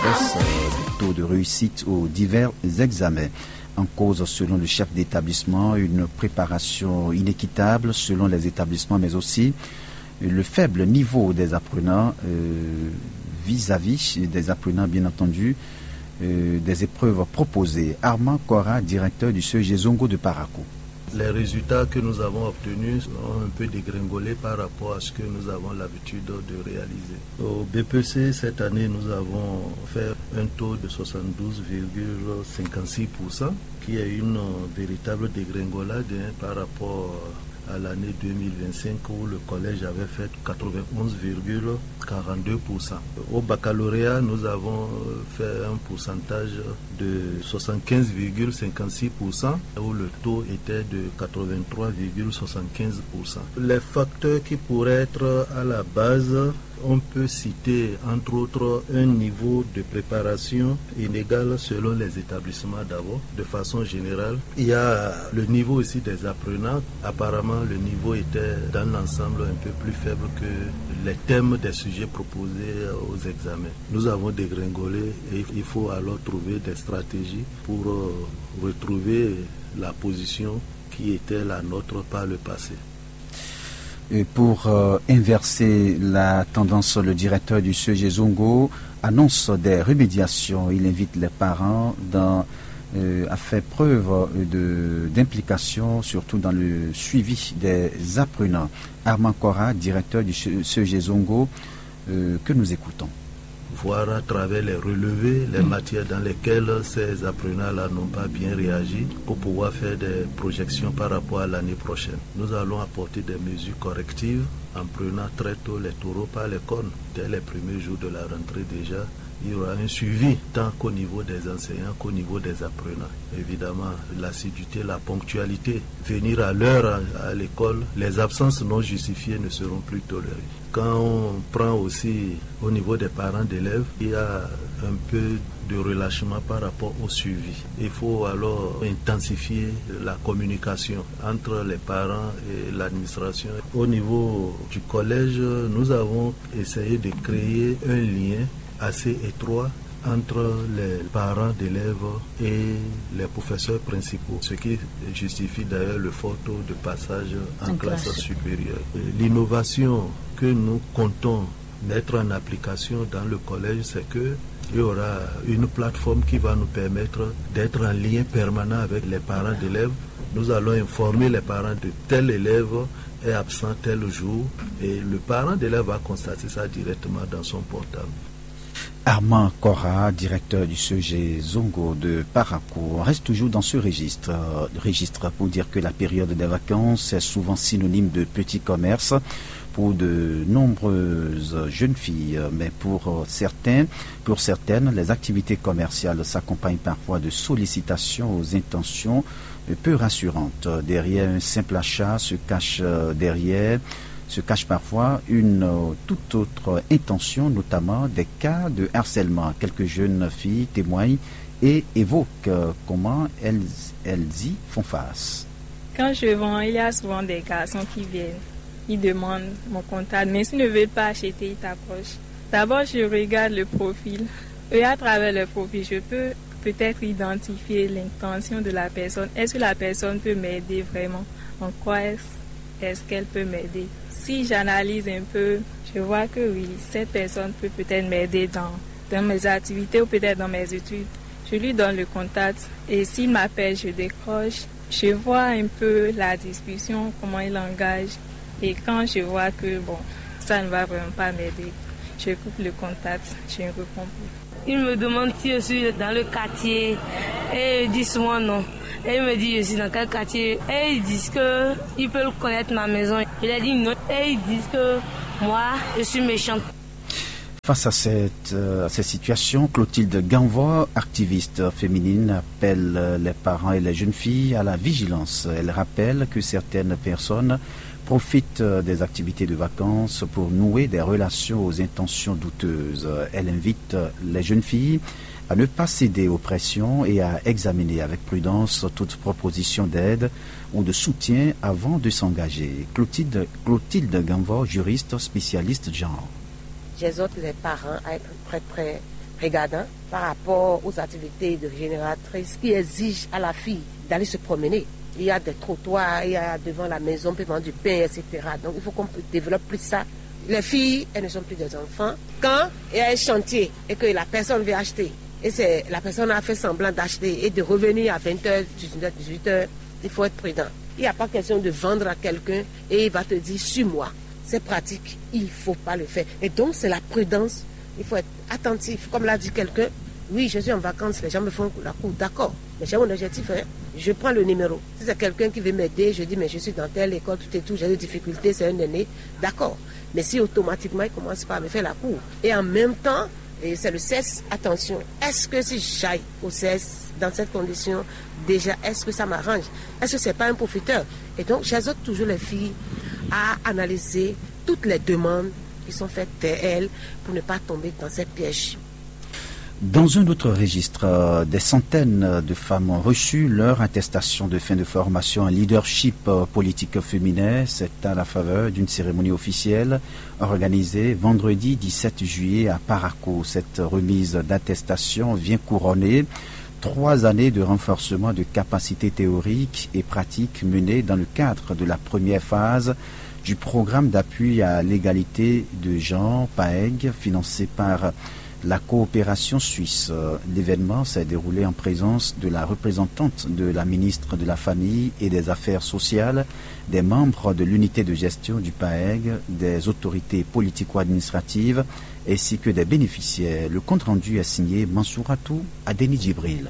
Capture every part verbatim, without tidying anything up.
baisse du taux de réussite aux divers examens. En cause, selon le chef d'établissement, une préparation inéquitable selon les établissements, mais aussi le faible niveau des apprenants, euh, vis-à-vis des apprenants, bien entendu, euh, des épreuves proposées. Armand Cora, directeur du C E G Zongo de Parakou. Les résultats que nous avons obtenus ont un peu dégringolé par rapport à ce que nous avons l'habitude de réaliser. Au B P C, cette année, nous avons fait un taux de soixante-douze virgule cinquante-six pour cent, qui est une, euh, véritable dégringolade, hein, par rapport à l'année deux mille vingt-cinq, où le collège avait fait quatre-vingt-onze virgule quarante-deux pour cent. Au baccalauréat, nous avons, euh, fait un pourcentage de soixante-quinze virgule cinquante-six pour cent, où le taux était de quatre-vingt-trois virgule soixante-quinze pour cent. Les facteurs qui pourraient être à la base, on peut citer entre autres un niveau de préparation inégal selon les établissements d'abord, de façon générale. Il y a le niveau aussi des apprenants. Apparemment, le niveau était dans l'ensemble un peu plus faible que les thèmes des sujets proposés aux examens. Nous avons dégringolé et il faut alors trouver des stratégies pour, euh, retrouver la position qui était la nôtre par le passé. Et pour, euh, inverser la tendance, le directeur du C E G Zongo annonce des remédiations. Il invite les parents dans, euh, à faire preuve, euh, de, d'implication, surtout dans le suivi des apprenants. Armand Cora, directeur du C E G Zongo, euh, que nous écoutons. Voir à travers les relevés, les matières dans lesquelles ces apprenants-là n'ont pas bien réagi pour pouvoir faire des projections par rapport à l'année prochaine. Nous allons apporter des mesures correctives en prenant très tôt les taureaux par les cornes. Dès les premiers jours de la rentrée déjà, il y aura un suivi tant qu'au niveau des enseignants qu'au niveau des apprenants. Évidemment, l'assiduité, la ponctualité, venir à l'heure à, à l'école, les absences non justifiées ne seront plus tolérées. Quand on prend aussi au niveau des parents d'élèves, il y a un peu de relâchement par rapport au suivi. Il faut alors intensifier la communication entre les parents et l'administration. Au niveau du collège, nous avons essayé de créer un lien assez étroit entre les parents d'élèves et les professeurs principaux, ce qui justifie d'ailleurs le fort taux de passage en classe supérieure. L'innovation que nous comptons mettre en application dans le collège, c'est que il y aura une plateforme qui va nous permettre d'être en lien permanent avec les parents d'élèves. Nous allons informer les parents de tel élève est absent tel jour et le parent d'élève va constater ça directement dans son portable. Armand Cora, directeur du C E G Zongo de Parakou, reste toujours dans ce registre, euh, registre pour dire que la période des vacances est souvent synonyme de petit commerce pour de nombreuses jeunes filles. Mais pour, euh, certains, pour certaines, les activités commerciales s'accompagnent parfois de sollicitations aux intentions, euh, peu rassurantes. Derrière un simple achat se cache, euh, derrière, se cache parfois une, euh, toute autre intention, notamment des cas de harcèlement. Quelques jeunes filles témoignent et évoquent, euh, comment elles, elles y font face. Quand je vends, il y a souvent des garçons qui viennent, ils demandent mon contact, mais s'ils ne veulent pas acheter, ils t'approchent. D'abord, je regarde le profil. Et à travers le profil, je peux peut-être identifier l'intention de la personne. Est-ce que la personne peut m'aider vraiment? En quoi est-ce, est-ce qu'elle peut m'aider? Si j'analyse un peu, je vois que oui, cette personne peut peut-être m'aider dans, dans mes activités ou peut-être dans mes études. Je lui donne le contact et s'il m'appelle, je décroche. Je vois un peu la discussion, comment il engage. Et quand je vois que, bon, ça ne va vraiment pas m'aider, je coupe le contact, je ne réponds plus. Il me demande si je suis dans le quartier et je dis souvent non. Et il me dit je suis dans quel quartier. Et ils disent que ils peuvent connaître ma maison. Je leur dis non. Et ils disent que moi, je suis méchante. Face à cette, euh, à cette situation, Clotilde Ganvor, activiste féminine, appelle, euh, les parents et les jeunes filles à la vigilance. Elle rappelle que certaines personnes profitent, euh, des activités de vacances pour nouer des relations aux intentions douteuses. Elle invite, euh, les jeunes filles à ne pas céder aux pressions et à examiner avec prudence toute proposition d'aide ou de soutien avant de s'engager. Clotilde, Clotilde Ganvor, juriste spécialiste genre. J'exhorte les parents à être très, très Regarde, hein, par rapport aux activités de génératrice qui exigent à la fille d'aller se promener. Il y a des trottoirs, il y a devant la maison, on peut vendre du pain, et cetera. Donc il faut qu'on développe plus ça. Les filles, elles ne sont plus des enfants. Quand il y a un chantier et que la personne veut acheter, et c'est la personne a fait semblant d'acheter et de revenir à vingt heures, dix-neuf heures, dix-huit heures, il faut être prudent. Il n'y a pas question de vendre à quelqu'un et il va te dire: suis-moi. C'est pratique, il ne faut pas le faire. Et donc, c'est la prudence. Il faut être attentif. Comme l'a dit quelqu'un, oui, je suis en vacances, les gens me font la cour, d'accord. Mais j'ai mon objectif, hein. Je prends le numéro. Si c'est quelqu'un qui veut m'aider, je dis: mais je suis dans telle école, tout et tout, j'ai des difficultés, c'est un aîné, d'accord. Mais si automatiquement il commence par me faire la cour, et en même temps, et c'est le sexe, attention, est-ce que si j'aille au sexe dans cette condition, déjà, est-ce que ça m'arrange? Est-ce que c'est pas un profiteur? Et donc, j'exhorte toujours les filles à analyser toutes les demandes qui sont faites vers elles pour ne pas tomber dans ces pièges. Dans un autre registre, euh, des centaines de femmes ont reçu leur attestation de fin de formation en leadership, euh, politique féminin. C'est à la faveur d'une cérémonie officielle organisée vendredi dix-sept juillet à Parakou. Cette remise d'attestation vient couronner trois années de renforcement de capacités théoriques et pratiques menées dans le cadre de la première phase du programme d'appui à l'égalité de genre, paeg, financé par la coopération suisse. Euh, l'événement s'est déroulé en présence de la représentante de la ministre de la Famille et des Affaires sociales, des membres de l'unité de gestion du paeg, des autorités politico-administratives ainsi que des bénéficiaires. Le compte-rendu est signé Mansouratou Adeni Djibril.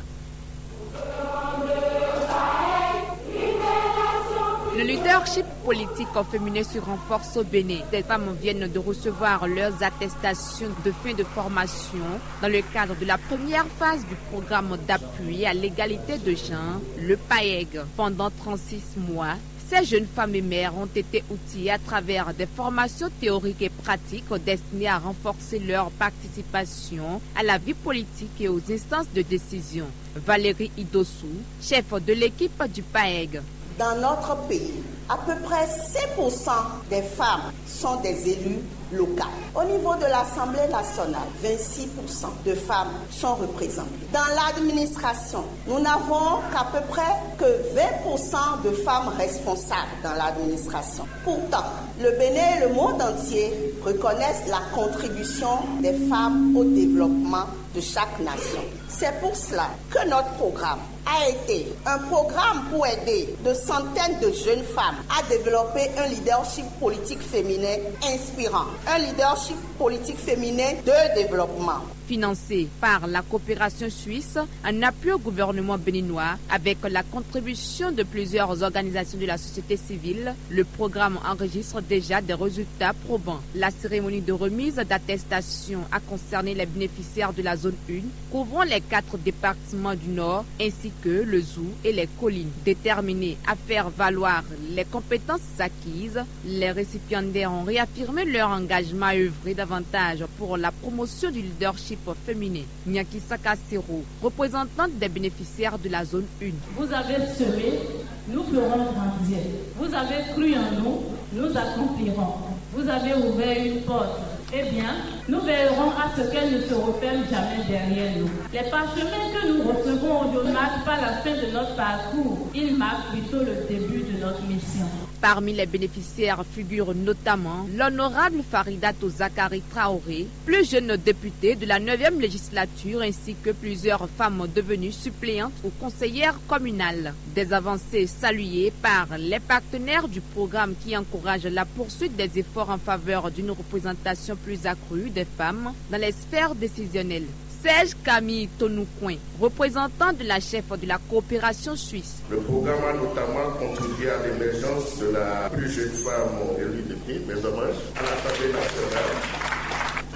Le leadership politique féminin se renforce au Bénin. Des femmes viennent de recevoir leurs attestations de fin de formation dans le cadre de la première phase du programme d'appui à l'égalité de genre, le paeg. Pendant trente-six mois, ces jeunes femmes et mères ont été outillées à travers des formations théoriques et pratiques destinées à renforcer leur participation à la vie politique et aux instances de décision. Valérie Idossou, chef de l'équipe du paeg. Dans notre pays, à peu près cinq pour cent des femmes sont des élus locales. Au niveau de l'Assemblée nationale, vingt-six pour cent de femmes sont représentées. Dans l'administration, nous n'avons qu'à peu près que vingt pour cent de femmes responsables dans l'administration. Pourtant, le Bénin et le monde entier reconnaissent la contribution des femmes au développement de chaque nation. C'est pour cela que notre programme a été un programme pour aider de centaines de jeunes femmes à développer un leadership politique féminin inspirant, un leadership politique féminin de développement. Financé par la coopération suisse, en appui au gouvernement béninois, avec la contribution de plusieurs organisations de la société civile, le programme enregistre déjà des résultats probants. La cérémonie de remise d'attestation a concerné les bénéficiaires de la zone un, couvrant les quatre départements du Nord, ainsi que le Zou et les collines. Déterminés à faire valoir les compétences acquises, les récipiendaires ont réaffirmé leur engagement à œuvrer davantage pour la promotion du leadership féminin. Nyaki Sakasero, représentante des bénéficiaires de la zone un. Vous avez semé, nous ferons grandir. Vous avez cru en nous, nous accomplirons. Vous avez ouvert une porte. Eh bien, nous veillerons à ce qu'elle ne se referme jamais derrière nous. Les parchemins que nous recevons ne marquent pas la fin de notre parcours, ils marquent plutôt le début de notre mission. Parmi les bénéficiaires figurent notamment l'honorable Farida Tozakari Traoré, plus jeune députée de la neuvième législature, ainsi que plusieurs femmes devenues suppléantes ou conseillères communales. Des avancées saluées par les partenaires du programme qui encouragent la poursuite des efforts en faveur d'une représentation plus accrue des femmes dans les sphères décisionnelles. Serge Camille Tonoucoin, représentant de la chef de la coopération suisse. Le programme a notamment contribué à l'émergence de la plus jeune femme élue député, mes hommages, à l'Assemblée nationale.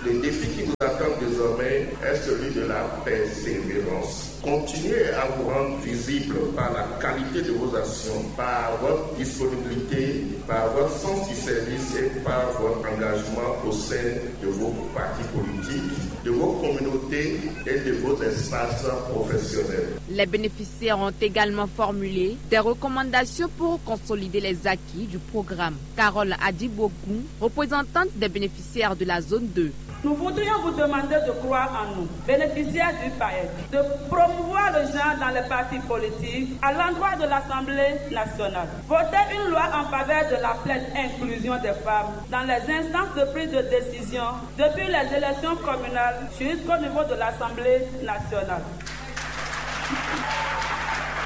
Le défi qui nous attend désormais est celui de la persévérance. Continuez à vous rendre visible par la qualité de vos actions, par votre disponibilité, par votre sens du service et par votre engagement au sein de vos partis politiques, de vos communautés et de vos espaces professionnels. Les bénéficiaires ont également formulé des recommandations pour consolider les acquis du programme. Carole Adibogun, représentante des bénéficiaires de la zone deux, Nous voudrions vous demander de croire en nous, bénéficiaires du paec, de promouvoir le genre dans les partis politiques à l'endroit de l'Assemblée nationale. Voter une loi en faveur de la pleine inclusion des femmes dans les instances de prise de décision, depuis les élections communales jusqu'au niveau de l'Assemblée nationale.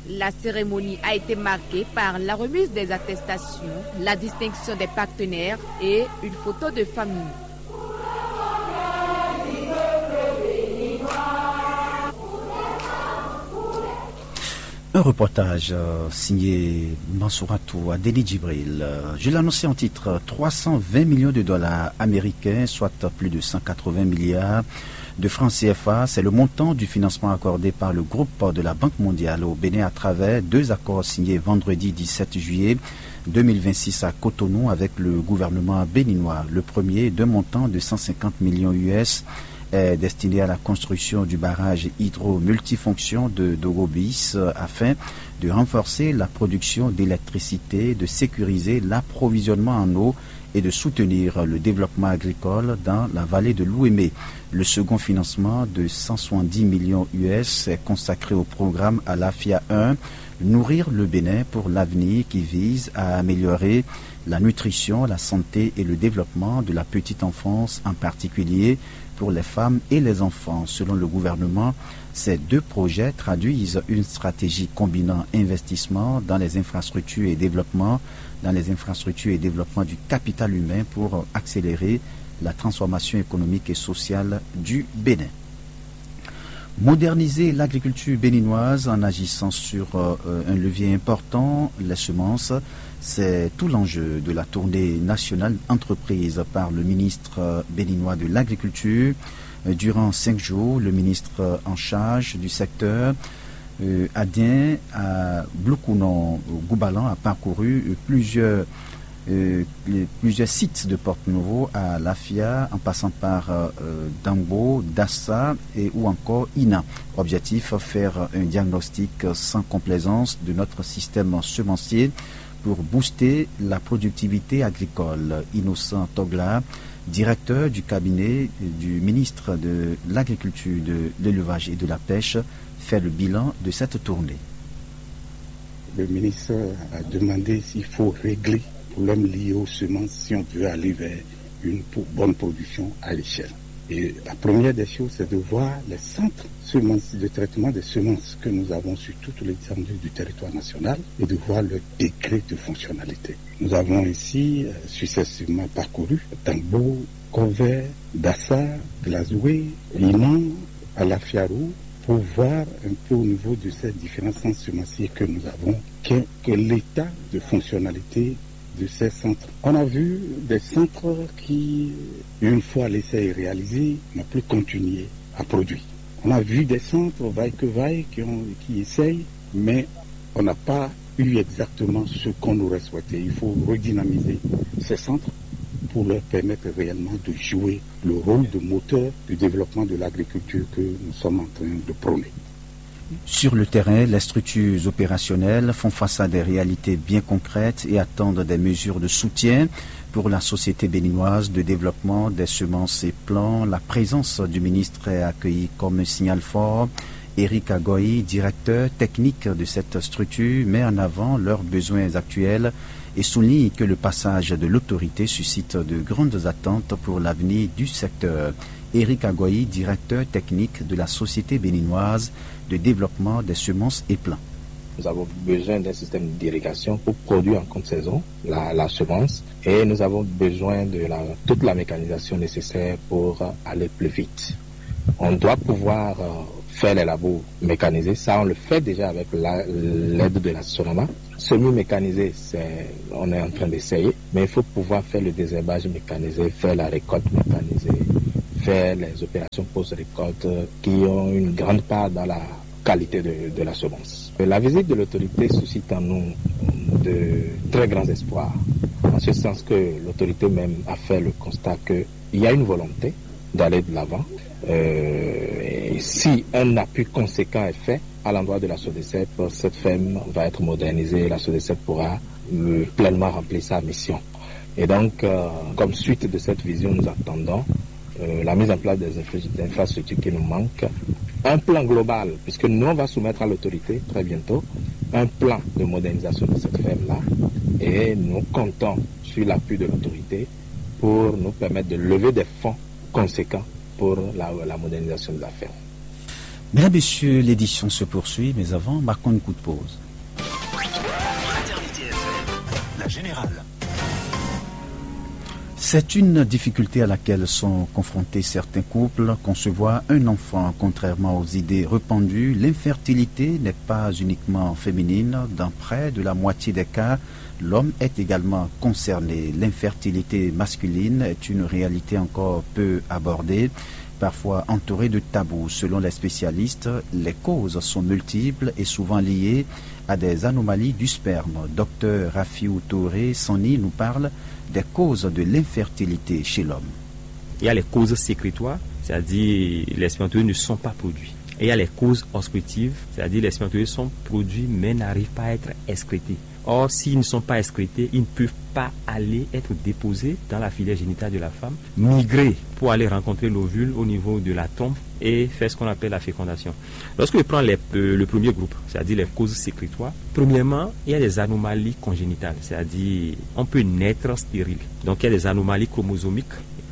La cérémonie a été marquée par la remise des attestations, la distinction des partenaires et une photo de famille. Un reportage euh, signé Mansouratou Adéni Djibril. Euh, Je l'annonçais en titre, trois cent vingt millions de dollars américains, soit plus de cent quatre-vingts milliards de francs C F A. C'est le montant du financement accordé par le groupe de la Banque mondiale au Bénin à travers deux accords signés vendredi dix-sept juillet deux mille vingt-six à Cotonou avec le gouvernement béninois. Le premier d'un montant de cent cinquante millions U S est destiné à la construction du barrage hydro multifonction de Dogobis, euh, afin de renforcer la production d'électricité, de sécuriser l'approvisionnement en eau et de soutenir le développement agricole dans la vallée de l'Ouémé. Le second financement de cent soixante-dix millions U S est consacré au programme Alafia un, Nourrir le Bénin pour l'avenir, qui vise à améliorer la nutrition, la santé et le développement de la petite enfance, en particulier pour les femmes et les enfants. Selon le gouvernement, ces deux projets traduisent une stratégie combinant investissement dans les infrastructures et développement, dans les infrastructures et développement du capital humain pour accélérer la transformation économique et sociale du Bénin. Moderniser l'agriculture béninoise en agissant sur euh, un levier important, les semences, c'est tout l'enjeu de la tournée nationale entreprise par le ministre béninois de l'Agriculture. Euh, Durant cinq jours, le ministre en charge du secteur, euh, Adien à Bloukounong, au Goubalan, a parcouru euh, plusieurs euh, les- plusieurs sites de Porte-Nouveau à Lafia, en passant par euh, Dangbo, Dassa et ou encore Ina. Objectif, faire un diagnostic sans complaisance de notre système semencier pour booster la productivité agricole. Innocent Togla, directeur du cabinet du ministre de l'Agriculture, de l'Élevage et de la Pêche, fait le bilan de cette tournée. Le ministre a demandé s'il faut régler le problème lié aux semences si on veut aller vers une bonne production à l'échelle. Et la première des choses, c'est de voir les centres semences, de traitement des semences que nous avons sur toute l'étendue du territoire national et de voir leur degré de fonctionnalité. Nous avons ici euh, successivement parcouru Tambo, Corvée, Dassa, Glazoué, Iman, Alafiarou, pour voir un peu au niveau de ces différents centres semenciers que nous avons, quel, quel est l'état de fonctionnalité de ces centres. On a vu des centres qui, une fois l'essai réalisé, n'ont plus continué à produire. On a vu des centres vaille que vaille qui, ont, qui essayent, mais on n'a pas eu exactement ce qu'on aurait souhaité. Il faut redynamiser ces centres pour leur permettre réellement de jouer le rôle de moteur du développement de l'agriculture que nous sommes en train de prôner. Sur le terrain, les structures opérationnelles font face à des réalités bien concrètes et attendent des mesures de soutien. Pour la Société béninoise de développement des semences et plants, la présence du ministre est accueillie comme un signal fort. Éric Agoï, directeur technique de cette structure, met en avant leurs besoins actuels et souligne que le passage de l'autorité suscite de grandes attentes pour l'avenir du secteur. Éric Agoï, directeur technique de la Société béninoise de développement des semences et plants. Nous avons besoin d'un système d'irrigation pour produire en compte saison la, la semence et nous avons besoin de la, toute la mécanisation nécessaire pour aller plus vite. On doit pouvoir euh, faire les labos mécanisés, ça on le fait déjà avec l'aide de la Sonama. Semi-mécanisé, c'est, on est en train d'essayer, mais il faut pouvoir faire le désherbage mécanisé, faire la récolte mécanisée, faire les opérations post-récolte qui ont une grande part dans la qualité de, de la semence. La visite de l'autorité suscite en nous de très grands espoirs, en ce sens que l'autorité même a fait le constat qu'il y a une volonté d'aller de l'avant. Euh, si un appui conséquent est fait à l'endroit de la Sodecep, cette ferme va être modernisée et la Sodecep pourra euh, pleinement remplir sa mission. Et donc, euh, comme suite de cette vision, nous attendons euh, la mise en place des infra- des infrastructures qui nous manquent, un plan global, puisque nous, on va soumettre à l'autorité très bientôt un plan de modernisation de cette ferme-là, et nous comptons sur l'appui de l'autorité pour nous permettre de lever des fonds conséquents pour la, la modernisation de la ferme. Mesdames, Messieurs, l'édition se poursuit, mais avant, marquons une courte pause. La Générale. C'est une difficulté à laquelle sont confrontés certains couples. Concevoir un enfant, contrairement aux idées répandues, l'infertilité n'est pas uniquement féminine. Dans près de la moitié des cas, l'homme est également concerné. L'infertilité masculine est une réalité encore peu abordée, parfois entourée de tabous. Selon les spécialistes, les causes sont multiples et souvent liées à des anomalies du sperme. Docteur Rafiou Touré Sani nous parle des causes de l'infertilité chez l'homme. Il y a les causes sécrétoires, c'est-à-dire les spermatozoïdes ne sont pas produits. Et il y a les causes obstructives, c'est-à-dire les spermatozoïdes sont produits mais n'arrivent pas à être excrétés. Or, s'ils ne sont pas excrétés, ils ne peuvent pas aller être déposés dans la filière génitale de la femme, migrer pour aller rencontrer l'ovule au niveau de la trompe et faire ce qu'on appelle la fécondation. Lorsque je prends les- euh, le premier groupe, c'est-à-dire les causes sécrétoires, premièrement, il y a des anomalies congénitales, c'est-à-dire on peut naître stérile. Donc il y a des anomalies chromosomiques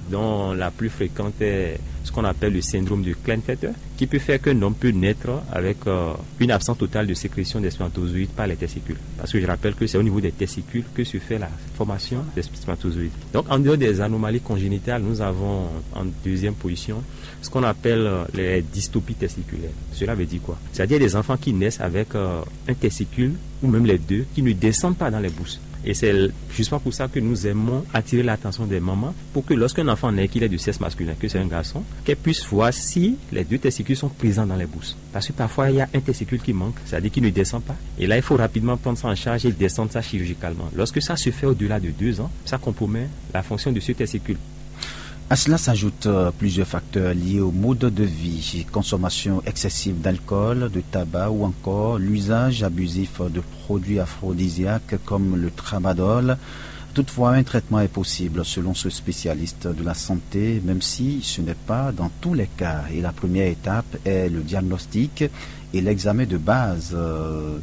dont la plus fréquente est ce qu'on appelle le syndrome de Klinefelter, qui peut faire qu'un homme peut naître avec euh, une absence totale de sécrétion des spermatozoïdes par les testicules. Parce que je rappelle que c'est au niveau des testicules que se fait la formation des spermatozoïdes. Donc en dehors des anomalies congénitales, nous avons en deuxième position ce qu'on appelle euh, les dystopies testiculaires. Cela veut dire quoi ? C'est-à-dire des enfants qui naissent avec euh, un testicule ou même les deux qui ne descendent pas dans les bourses. Et c'est justement pour ça que nous aimons attirer l'attention des mamans pour que lorsqu'un enfant naît, qu'il est de sexe masculin, que c'est un garçon, qu'elle puisse voir si les deux testicules sont présents dans les bourses. Parce que parfois, il y a un testicule qui manque, c'est-à-dire qui ne descend pas. Et là, il faut rapidement prendre ça en charge et descendre ça chirurgicalement. Lorsque ça se fait au-delà de deux ans, ça compromet la fonction de ce testicule. À cela s'ajoutent euh, plusieurs facteurs liés au mode de vie, consommation excessive d'alcool, de tabac ou encore l'usage abusif de produits aphrodisiaques comme le tramadol. Toutefois, un traitement est possible selon ce spécialiste de la santé, même si ce n'est pas dans tous les cas. Et la première étape est le diagnostic et l'examen de base, euh,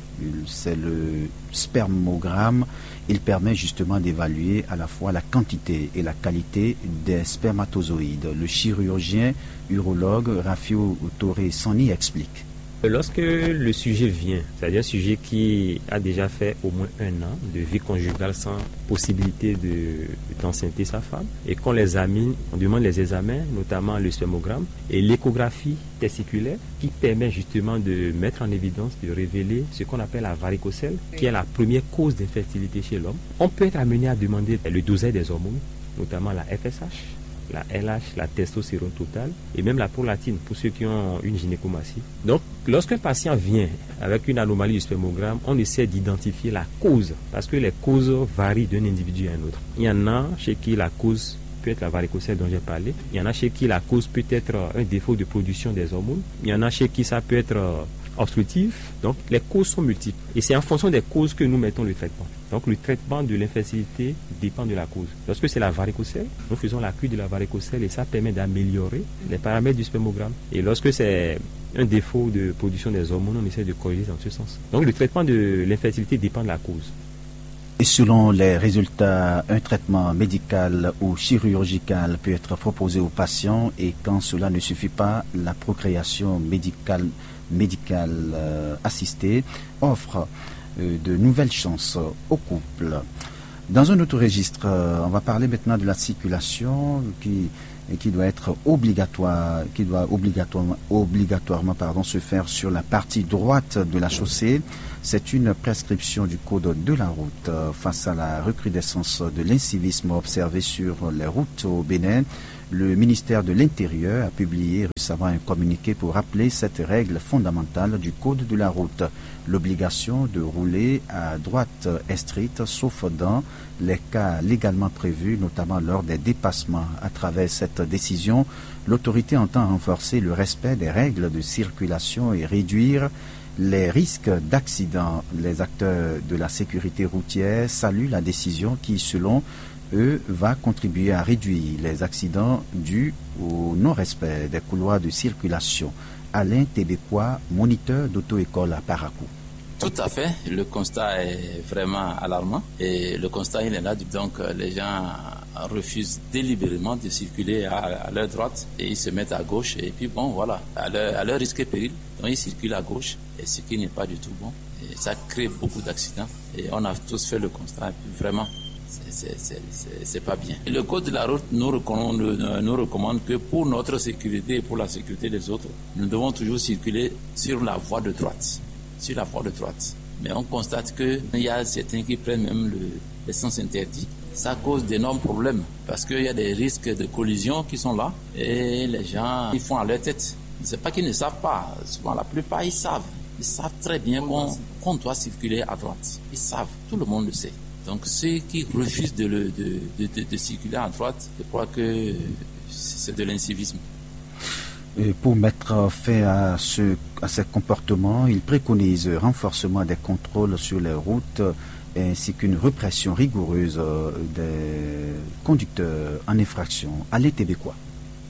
c'est le spermogramme. Il permet justement d'évaluer à la fois la quantité et la qualité des spermatozoïdes. Le chirurgien urologue Rafiou Touré Sani explique. Lorsque le sujet vient, c'est-à-dire un sujet qui a déjà fait au moins un an de vie conjugale sans possibilité de, d'enceinter sa femme, et qu'on l'examine, on demande les examens, notamment le spermogramme et l'échographie testiculaire, qui permet justement de mettre en évidence, de révéler ce qu'on appelle la varicocèle, qui est la première cause d'infertilité chez l'homme. On peut être amené à demander le dosage des hormones, notamment la F S H, la L H, la testostérone totale et même la prolatine pour ceux qui ont une gynécomastie. Donc, lorsqu'un patient vient avec une anomalie du spermogramme, on essaie d'identifier la cause, parce que les causes varient d'un individu à un autre. Il y en a chez qui la cause peut être la varicocèle dont j'ai parlé. Il y en a chez qui la cause peut être un défaut de production des hormones. Il y en a chez qui ça peut être euh, obstructif. Donc, les causes sont multiples. Et c'est en fonction des causes que nous mettons le traitement. Donc, le traitement de l'infertilité dépend de la cause. Lorsque c'est la varicocèle, nous faisons la cure de la varicocèle et ça permet d'améliorer les paramètres du spermogramme. Et lorsque c'est un défaut de production des hormones, on essaie de corriger dans ce sens. Donc, le traitement de l'infertilité dépend de la cause. Et selon les résultats, un traitement médical ou chirurgical peut être proposé aux patients et quand cela ne suffit pas, la procréation médicale, médicale euh, assistée offre euh, de nouvelles chances au couple. Dans un autre registre, euh, on va parler maintenant de la circulation qui, et qui doit être obligatoire, qui doit obligatoirement, obligatoirement pardon, se faire sur la partie droite de la chaussée. C'est une prescription du code de la route. Euh, Face à la recrudescence de l'incivisme observé sur les routes au Bénin, le ministère de l'Intérieur a publié récemment un communiqué pour rappeler cette règle fondamentale du code de la route, l'obligation de rouler à droite est stricte, sauf dans les cas légalement prévus, notamment lors des dépassements. À travers cette décision, l'autorité entend renforcer le respect des règles de circulation et réduire les risques d'accident. Les acteurs de la sécurité routière saluent la décision qui, selon eux, va contribuer à réduire les accidents dus au non-respect des couloirs de circulation. Alain Tebekwa, moniteur d'auto-école à Parakou. Tout à fait, le constat est vraiment alarmant et le constat il est là, donc euh, les gens refusent délibérément de circuler à, à leur droite et ils se mettent à gauche et puis bon voilà, à leur, à leur risque et péril, donc ils circulent à gauche et ce qui n'est pas du tout bon et ça crée beaucoup d'accidents et on a tous fait le constat et puis vraiment c'est- c'est- c'est- c'est- c'est pas bien. Et le code de la route nous recommande, nous recommande que pour notre sécurité et pour la sécurité des autres, nous devons toujours circuler sur la voie de droite. Sur la voie de droite. Mais on constate qu'il y a certains qui prennent même le, le sens interdit. Ça cause d'énormes problèmes parce qu'il y a des risques de collision qui sont là et les gens ils font à leur tête. C'est pas qu'ils ne savent pas. Souvent, la plupart, ils savent. Ils savent très bien qu'on qu'on doit circuler à droite. Ils savent. Tout le monde le sait. Donc, ceux qui refusent de, le- de- de- de- de circuler à droite, je crois que c'est de l'incivisme. Et pour mettre fin à, ce, à ces comportements, il préconise renforcement des contrôles sur les routes ainsi qu'une répression rigoureuse euh, des conducteurs en infraction. Allez, Tébécois.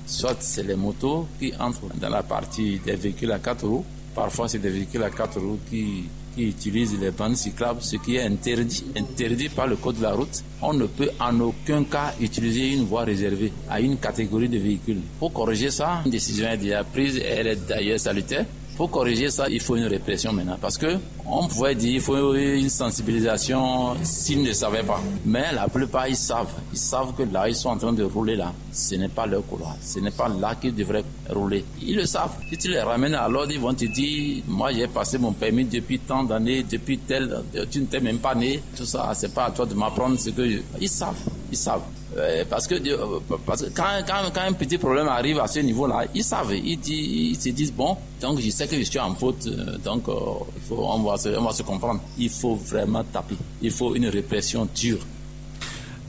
Soit c'est les motos qui entrent dans la partie des véhicules à quatre roues. Parfois, c'est des véhicules à quatre roues qui, qui utilisent les bandes cyclables, ce qui est interdit, interdit par le code de la route. On ne peut en aucun cas utiliser une voie réservée à une catégorie de véhicules. Pour corriger ça, une décision est déjà prise et elle est d'ailleurs salutaire. Pour corriger ça, il faut une répression maintenant. Parce que on pourrait dire qu'il faut une sensibilisation s'ils ne savaient pas. Mais la plupart, ils savent. Ils savent que là, ils sont en train de rouler là. Ce n'est pas leur couloir. Ce n'est pas là qu'ils devraient rouler. Ils le savent. Si tu les ramènes à l'ordre, ils vont te dire, moi j'ai passé mon permis depuis tant d'années, depuis tel, tu ne t'es même pas né. Tout ça, c'est pas à toi de m'apprendre ce que je- Ils savent, ils savent. Euh, parce que, euh, parce que quand, quand, quand un petit problème arrive à ce niveau-là, ils savent, ils, disent, ils se disent, bon, donc je sais que je suis en faute, euh, donc euh, il faut, on, va se, on va se comprendre. Il faut vraiment taper. Il faut une répression dure.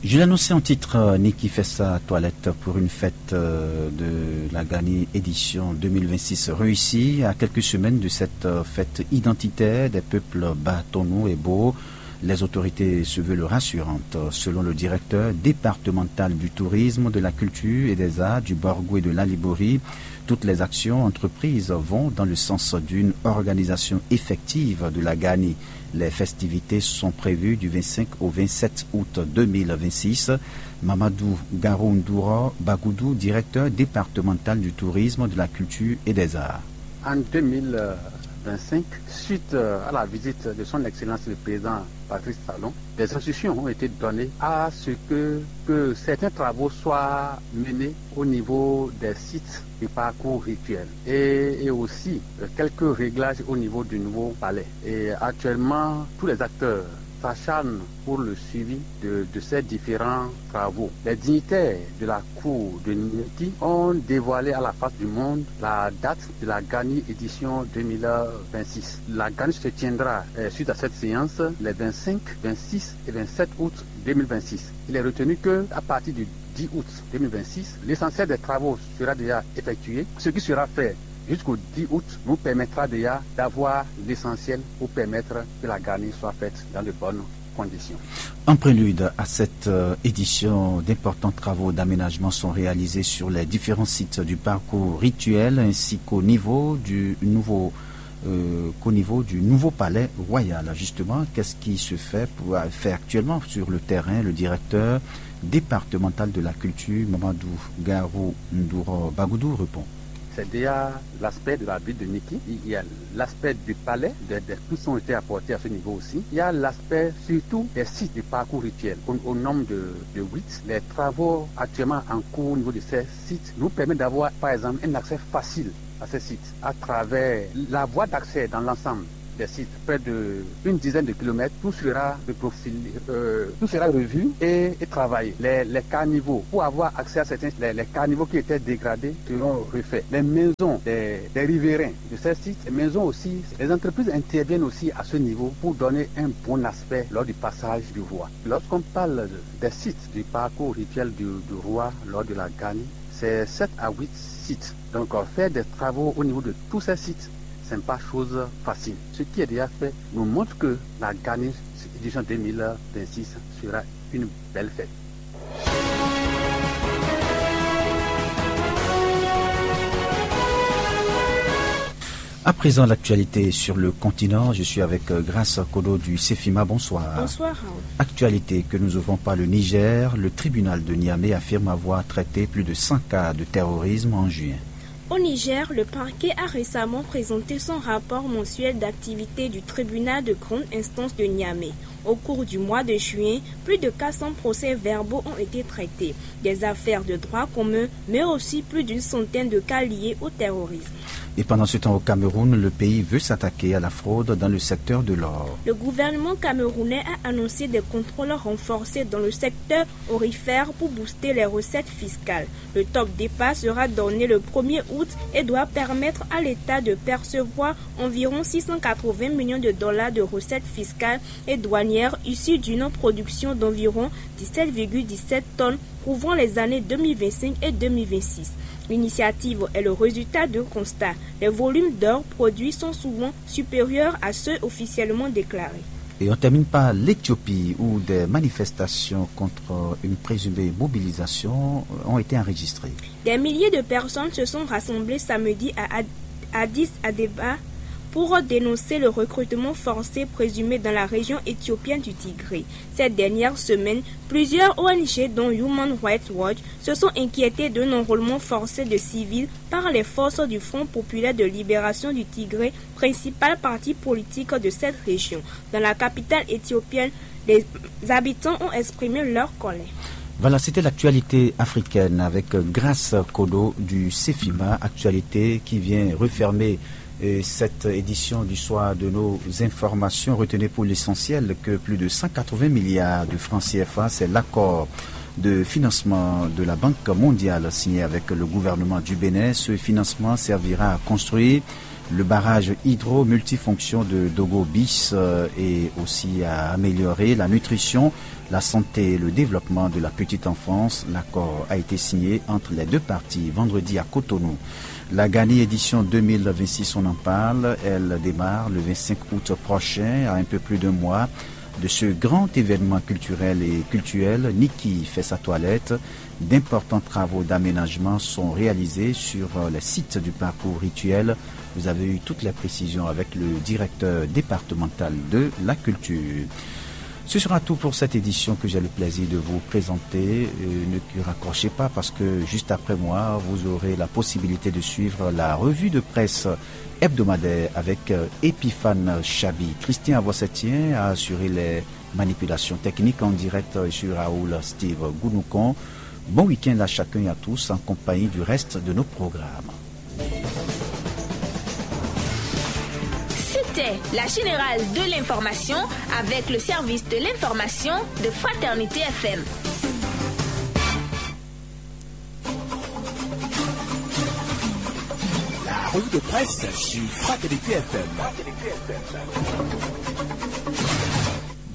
Je l'annonçais en titre, euh, Niki fait sa toilette pour une fête euh, de la Gani édition deux mille vingt-six réussie. À quelques semaines de cette euh, fête identitaire des peuples Bâtonneau et Beau, les autorités se veulent rassurantes. Selon le directeur départemental du tourisme, de la culture et des arts du Borgo et de l'Alibori, toutes les actions entreprises vont dans le sens d'une organisation effective de la Gani. Les festivités sont prévues du vingt-cinq au vingt-sept août deux mille vingt-six. Mamadou Garoundoura Bagoudou, directeur départemental du tourisme, de la culture et des arts. En deux mille vingt-cinq, suite à la visite de son Excellence le Président Patrice Talon, des instructions ont été données à ce que, que certains travaux soient menés au niveau des sites du parcours rituel et, et aussi euh, quelques réglages au niveau du nouveau palais. Et actuellement, tous les acteurs s'acharnent pour le suivi de, de ces différents travaux. Les dignitaires de la cour de Niki ont dévoilé à la face du monde la date de la Gani édition deux mille vingt-six. La Gani se tiendra euh, suite à cette séance les vingt-cinq, vingt-six et vingt-sept août deux mille vingt-six. Il est retenu que à partir du dix août deux mille vingt-six, l'essentiel des travaux sera déjà effectué. Ce qui sera fait jusqu'au dix août nous permettra déjà d'avoir l'essentiel pour permettre que la Gani soit faite dans de bonnes conditions. En prélude à cette euh, édition, d'importants travaux d'aménagement sont réalisés sur les différents sites du parcours rituel ainsi qu'au niveau du nouveau euh, qu'au niveau du nouveau palais royal. Justement, qu'est-ce qui se fait, pour, fait actuellement sur le terrain? Le directeur départemental de la culture, Mamadou Garou Ndouro Bagoudou, répond. C'est déjà l'aspect de la ville de Niki. Il y a l'aspect du palais, des, des pouces ont été apportés à ce niveau aussi. Il y a l'aspect surtout des sites de parcours rituel au, au nombre de, de huit. Les travaux actuellement en cours au niveau de ces sites nous permettent d'avoir par exemple un accès facile à ces sites à travers la voie d'accès dans l'ensemble des sites, près de une dizaine de kilomètres, tout sera reprofilé, euh, tout sera revu et, et travaillé. Les, les carnivaux, pour avoir accès à certains, les, les carnivaux qui étaient dégradés seront refaits. Les maisons des, des riverains de ces sites, les maisons aussi, les entreprises interviennent aussi à ce niveau pour donner un bon aspect lors du passage du roi. Lorsqu'on parle des sites du parcours rituel du, du roi lors de la Gani, c'est sept à huit sites. Donc, euh, faire des travaux au niveau de tous ces sites, ce n'est pas chose facile. Ce qui est déjà fait nous montre que la Gani édition deux mille vingt-six sera une belle fête. À présent, l'actualité sur le continent. Je suis avec euh, Grâce Kodo du Cefima. Bonsoir. Bonsoir, Raoul. Actualité que nous ouvrons par le Niger. Le tribunal de Niamey affirme avoir traité plus de cent cas de terrorisme en juin. Au Niger, le parquet a récemment présenté son rapport mensuel d'activité du tribunal de grande instance de Niamey. Au cours du mois de juin, plus de quatre cents procès-verbaux ont été traités, des affaires de droit commun, mais aussi plus d'une centaine de cas liés au terrorisme. Et pendant ce temps, au Cameroun, le pays veut s'attaquer à la fraude dans le secteur de l'or. Le gouvernement camerounais a annoncé des contrôles renforcés dans le secteur aurifère pour booster les recettes fiscales. Le top départ sera donné le premier août et doit permettre à l'État de percevoir environ six cent quatre-vingts millions de dollars de recettes fiscales et douanières issues d'une production d'environ dix-sept virgule dix-sept tonnes couvrant les années deux mille vingt-cinq et deux mille vingt-six. L'initiative est le résultat d'un constat. Les volumes d'or produits sont souvent supérieurs à ceux officiellement déclarés. Et on termine par l'Éthiopie, où des manifestations contre une présumée mobilisation ont été enregistrées. Des milliers de personnes se sont rassemblées samedi à Ad-, Addis Abeba pour dénoncer le recrutement forcé présumé dans la région éthiopienne du Tigré. Cette dernière semaine, plusieurs O N G, dont Human Rights Watch, se sont inquiétées d'un enrôlement forcé de civils par les forces du Front populaire de libération du Tigré, principal parti politique de cette région. Dans la capitale éthiopienne, les habitants ont exprimé leur colère. Voilà, c'était l'actualité africaine avec euh, Grâce Kodo du Cefima, actualité qui vient refermer euh, cette édition du soir de nos informations. Retenez pour l'essentiel que plus de cent quatre-vingts milliards de francs C F A, c'est l'accord de financement de la Banque mondiale signé avec le gouvernement du Bénin. Ce financement servira à construire le barrage hydro multifonction de Dogo Bis euh, et aussi à améliorer la nutrition, la santé et le développement de la petite enfance. L'accord a été signé entre les deux parties vendredi à Cotonou. La Gani édition deux mille vingt-six, on en parle. Elle démarre le vingt-cinq août prochain, à un peu plus d'un mois de ce grand événement culturel et cultuel. Niki fait sa toilette. D'importants travaux d'aménagement sont réalisés sur euh, les sites du parcours rituel. Vous avez eu toutes les précisions avec le directeur départemental de la culture. Ce sera tout pour cette édition que j'ai le plaisir de vous présenter. Euh, ne raccrochez pas parce que juste après moi, vous aurez la possibilité de suivre la revue de presse hebdomadaire avec euh, Epiphane Chabi. Christian Avossetien a assuré les manipulations techniques en direct. Je suis Raoul Steve Gounoukon. Bon week-end à chacun et à tous en compagnie du reste de nos programmes. C'était la générale de l'information avec le service de l'information de Fraternité F M. La revue de presse sur Fraternité F M.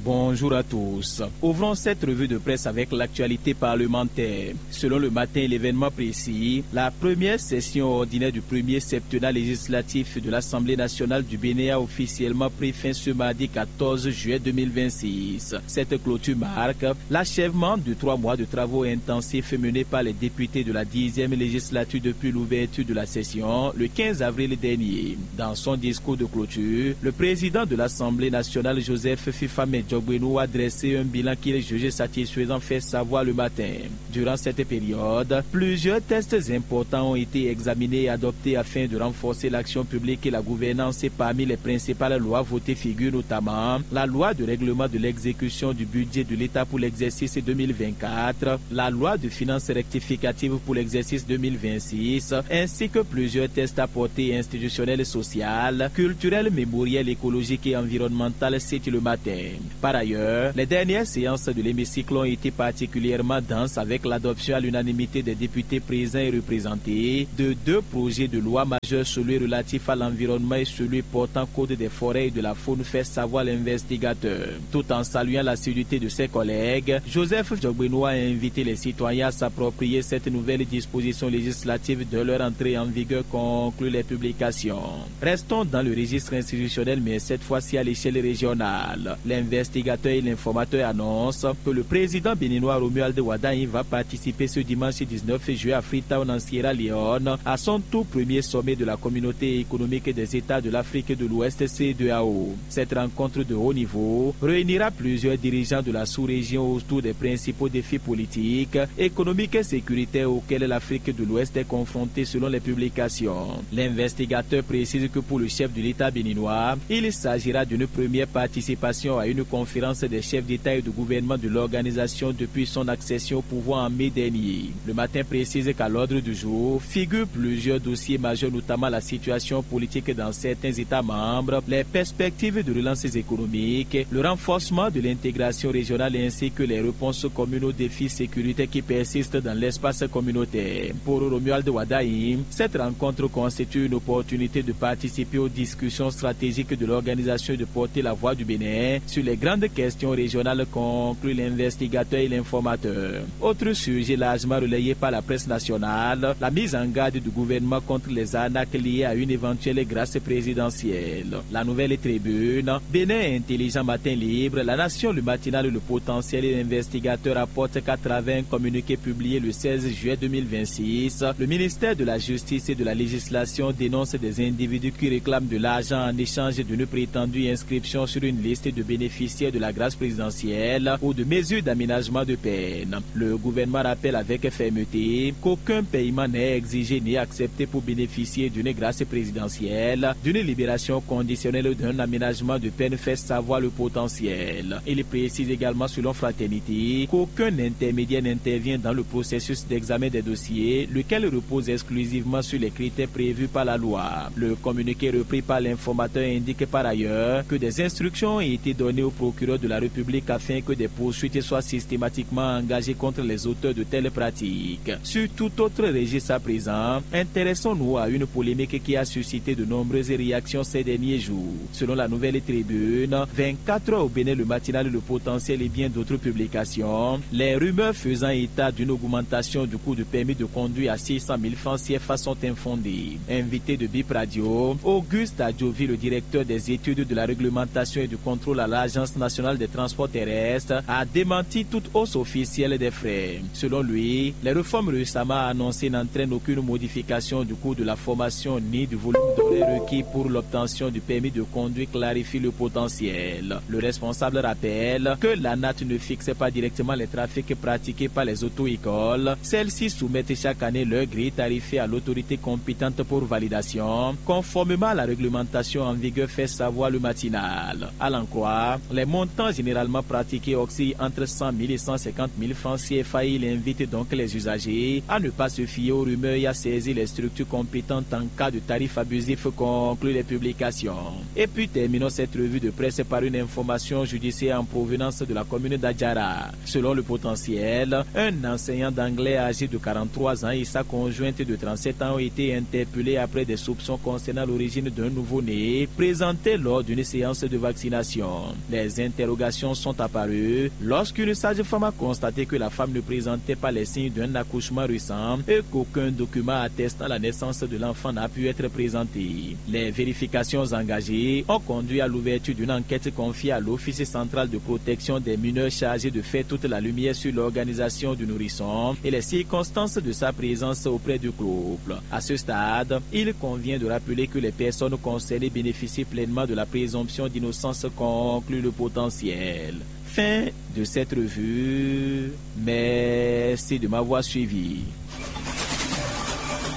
Bonjour à tous. Ouvrons cette revue de presse avec l'actualité parlementaire. Selon le matin et l'événement précis, la première session ordinaire du premier septennat législatif de l'Assemblée nationale du Bénin a officiellement pris fin ce mardi quatorze juillet deux mille vingt-six. Cette clôture marque l'achèvement de trois mois de travaux intensifs menés par les députés de la dixième législature depuis l'ouverture de la session le quinze avril dernier. Dans son discours de clôture, le président de l'Assemblée nationale, Joseph Fifame Djogbenou, a dressé un bilan qu'il juge satisfaisant, fait savoir le matin. Durant cette période, plusieurs textes importants ont été examinés et adoptés afin de renforcer l'action publique et la gouvernance. Parmi les principales lois votées figurent notamment la loi de règlement de l'exécution du budget de l'État pour l'exercice deux mille vingt-quatre, la loi de finances rectificative pour l'exercice deux mille vingt-six, ainsi que plusieurs textes à portée institutionnelle, sociale, culturelle, mémorielle, écologique et environnementale, cite le matin. Par ailleurs, les dernières séances de l'hémicycle ont été particulièrement denses avec l'adoption à l'unanimité des députés présents et représentés de deux projets de loi majeurs, celui relatif à l'environnement et celui portant code des forêts et de la faune, fait savoir l'investigateur. Tout en saluant l'assiduité de ses collègues, Joseph Djogbenou a invité les citoyens à s'approprier cette nouvelle disposition législative dès leur entrée en vigueur, conclut les publications. Restons dans le registre institutionnel, mais cette fois-ci à l'échelle régionale. L'investigateur L'investigateur et l'informateur annonce que le président béninois Romuald Wadagni va participer ce dimanche dix-neuf juillet à Freetown en Sierra Leone à son tout premier sommet de la communauté économique des États de l'Afrique de l'Ouest, C deux A O. Cette rencontre de haut niveau réunira plusieurs dirigeants de la sous-région autour des principaux défis politiques, économiques et sécuritaires auxquels l'Afrique de l'Ouest est confrontée selon les publications. L'investigateur précise que pour le chef de l'État béninois, il s'agira d'une première participation à une conférence des chefs d'État et de gouvernement de l'organisation depuis son accession au pouvoir en mai dernier. Le matin précise qu'à l'ordre du jour figurent plusieurs dossiers majeurs, notamment la situation politique dans certains États membres, les perspectives de relance économique, le renforcement de l'intégration régionale ainsi que les réponses communes aux défis sécuritaires qui persistent dans l'espace communautaire. Pour Romuald Wadagni, cette rencontre constitue une opportunité de participer aux discussions stratégiques de l'organisation et de porter la voix du Bénin sur les grandes questions régionales, conclut l'investigateur et l'informateur. Autre sujet largement relayé par la presse nationale, la mise en garde du gouvernement contre les arnaques liées à une éventuelle grâce présidentielle. La Nouvelle Tribune, Bénin Intelligent, Matin Libre, La Nation, Le Matinal, Le Potentiel et L'Investigateur rapportent qu'à travers un communiqué publié le seize juillet deux mille vingt-six, le ministère de la Justice et de la Législation dénonce des individus qui réclament de l'argent en échange d'une prétendue inscription sur une liste de bénéficiaires de la grâce présidentielle ou de mesures d'aménagement de peine. Le gouvernement rappelle avec fermeté qu'aucun paiement n'est exigé ni accepté pour bénéficier d'une grâce présidentielle, d'une libération conditionnelle ou d'un aménagement de peine, fait savoir Le Potentiel. Il précise également, selon Fraternité, qu'aucun intermédiaire n'intervient dans le processus d'examen des dossiers, lequel repose exclusivement sur les critères prévus par la loi. Le communiqué repris par l'informateur indique par ailleurs que des instructions ont été données au procureur de la République afin que des poursuites soient systématiquement engagées contre les auteurs de telles pratiques. Sur tout autre registre à présent, intéressons-nous à une polémique qui a suscité de nombreuses réactions ces derniers jours. Selon La Nouvelle Tribune, Vingt-quatre heures au Bénin, Le Matinal, Le Potentiel et bien d'autres publications, les rumeurs faisant état d'une augmentation du coût du permis de conduire à six cent mille francs C F A sont infondées. Invité de Bip Radio, Auguste Adjovi, le directeur des études de la réglementation et du contrôle à l'Agence nationale des transports terrestres, a démenti toute hausse officielle des frais. Selon lui, les réformes récemment annoncées n'entraînent aucune modification du coût de la formation ni du volume d'horaires requis pour l'obtention du permis de conduire, clarifie Le Potentiel. Le responsable rappelle que l'ANAT ne fixe pas directement les trafics pratiqués par les auto-écoles. Celles-ci soumettent chaque année leur grille tarifaire à l'autorité compétente pour validation, conformément à la réglementation en vigueur, fait savoir Le Matinal. À l'en croire, les montants généralement pratiqués oscillent entre cent mille et cent cinquante mille francs C F A. Il invite donc les usagers à ne pas se fier aux rumeurs et à saisir les structures compétentes en cas de tarifs abusifs, conclut les publications. Et puis terminons cette revue de presse par une information judiciaire en provenance de la commune d'Adjara. Selon Le Potentiel, un enseignant d'anglais âgé de quarante-trois ans et sa conjointe de trente-sept ans ont été interpellés après des soupçons concernant l'origine d'un nouveau-né présenté lors d'une séance de vaccination. Les interrogations sont apparues lorsqu'une sage-femme a constaté que la femme ne présentait pas les signes d'un accouchement récent et qu'aucun document attestant la naissance de l'enfant n'a pu être présenté. Les vérifications engagées ont conduit à l'ouverture d'une enquête confiée à l'Office central de protection des mineurs, chargé de faire toute la lumière sur l'organisation du nourrisson et les circonstances de sa présence auprès du couple. À ce stade, il convient de rappeler que les personnes concernées bénéficient pleinement de la présomption d'innocence, conclut Le Potentiel. Fin de cette revue. Merci de m'avoir suivi.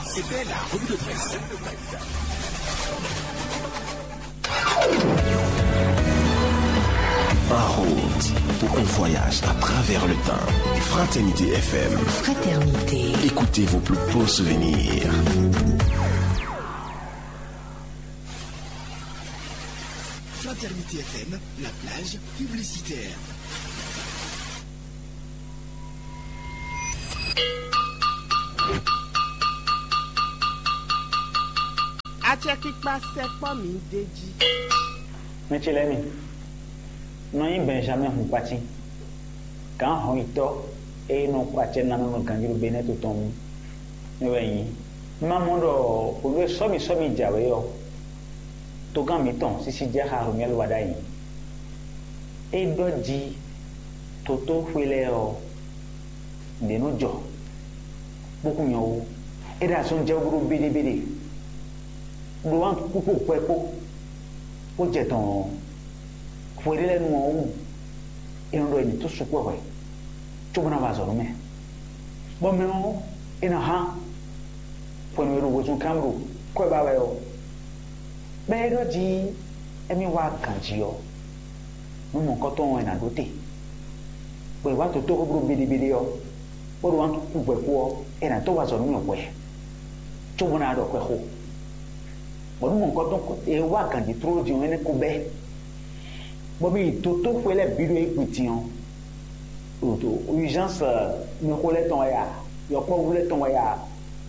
C'était la revue de presse. En route pour un voyage à travers le temps. Fraternité F M. Fraternité. Écoutez vos plus beaux souvenirs. Fraternité F M, la plage publicitaire. Acɛkpikpa sɛkpɔ́ mǐ d'é jí. Mɛ ce lɛ́ɛ mi, nɔ nyí Bɛnjamɛ́ɛ Hunkwátín, gǎn hɔnyitɔ́ e nɔ kɔ acɛ ná nɔ ganjí ɖo Benɛ́ɛ to tɔn mú. Mɛ wɛ nyí. Un ma mɔ ɖɔ hwenu e sɔ́mi sɔ́mi jǎwe ɔ́, togán mǐtɔn sísí jɛ xá Romɛ́lu wá ɖ'ayǐ. É ɖɔ jí totóxwe lɛ́ɛ ɔ́, nǔɖé nɔ jɔ, bó kún nyɔ wú. É ɖo azɔn jɛ wú ɖó béɖébeɖé, ɖó wǎn kpókpó hwɛ kpó, bó jɛ dɔn ɔ́, hwe ɖé lɛ́ɛ nu ɔ́ wú, é nɔ ɖɔ è nǐ tó sukpɔ́ hwɛ, cóbó ná wa azɔ̌ nú mɛ. Bɔ mɛ ɔ́, é nɔ hán hwenu e ɖo wezun kán ɖo kwɛ́ ba wɛ ɔ́, bɔ é ɖɔ jí émí wá ganjí ɔ́, nú mɔ̌hunkɔtɔn ɔ́ è nǎ ɖó te, bɔ è wá dotóxwé bló béɖébeɖé ɔ́, bó ɖo wǎn kú hwɛ kpó ɔ́, è nǎ dó wa azɔ̌ nú mì hwɛ, cóbó ná ɖɔ xwɛxó. Bɔ nú mɔ̌hunkɔtɔn e wá ganjí tlóló din ɔ́, énɛ́ ko bɛ́, bɔ mì yi dotóxwé lɛ́ɛ bǐ ɖo égbé din ɔ́, ɖo urgence, mɛxó lɛ́ɛ tɔn wɛ a, yɔkpɔ́vú lɛ́ɛ tɔn wɛ a,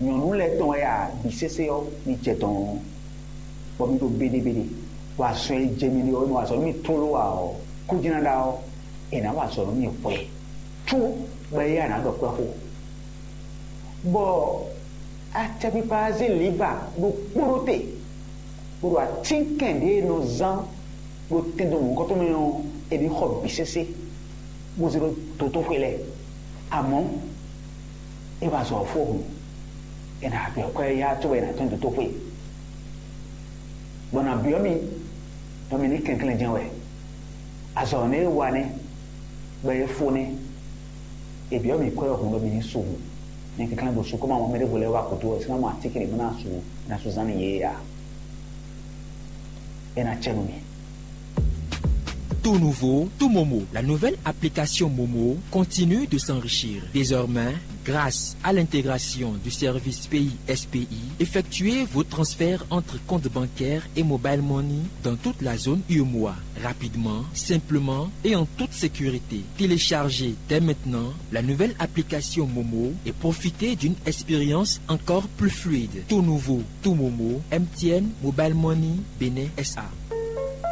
nyɔ̌nu lɛ́ɛ tɔn wɛ a, bǐ sésé ɔ́, mi jɛ dɔn ɔ́, bɔ mi ɖo béɖébeɖé, bɔ azɔn e jɛ mi ɖe ɔ́, e nɔ wa azɔ̌ nú mi tlóló ǎ ɔ́, kú jlá ɖa ɔ́, è nǎ wa azɔ̌ nú mi hwɛ, có bɔ éyɛ́ a nǎ ɖɔ kwɛ́ xó. Bɔ acɛkpikpa ɔ́ zé lǐva ɖokpó ɖó te, bó ɖo atínkɛn ɖě e nɔ zán ɖo tɛndo mɔ̌hunkɔtɔn mɛ ɔ́, è nǐ xɔ bǐ sésé, bó zé ɖó dotóxwé lɛ́ɛ. Amɔ̌, é wá azɔ̌ ɔ́ fó hǔn, è nǎ byɔ́ kwɛ́ yá cóbɔ è nǎ tɔ́n dotóxwé, bɔ è nǎ byɔ́ mì, bɔ mi ní kɛnklɛ́n jɛ́n wɛ. Azɔ̌ nɛ́ e wa nɛ́, bɔ é fó nɛ́. È byɔ́ mì kwɛ́ ɔ́ hǔn ɖɔ mi ní su hǔn. Mi kɛnklɛ́n ɖo su, kɔ́ ma mɔ mɛ ɖěvo lɛ́ɛ wá gǔdo ɔ́, é ná mɔ atínkɛn ɖě bó ná su, é ná su zán nú yě ǎ. É ná cɛ nú mi. Tout nouveau, tout Momo. La nouvelle application Momo continue de s'enrichir. Désormais, grâce à l'intégration du service Pays S P I, effectuez vos transferts entre comptes bancaires et mobile money dans toute la zone U M O A, rapidement, simplement et en toute sécurité. Téléchargez dès maintenant la nouvelle application Momo et profitez d'une expérience encore plus fluide. Tout nouveau, tout Momo, M T N Mobile Money Bénin S A.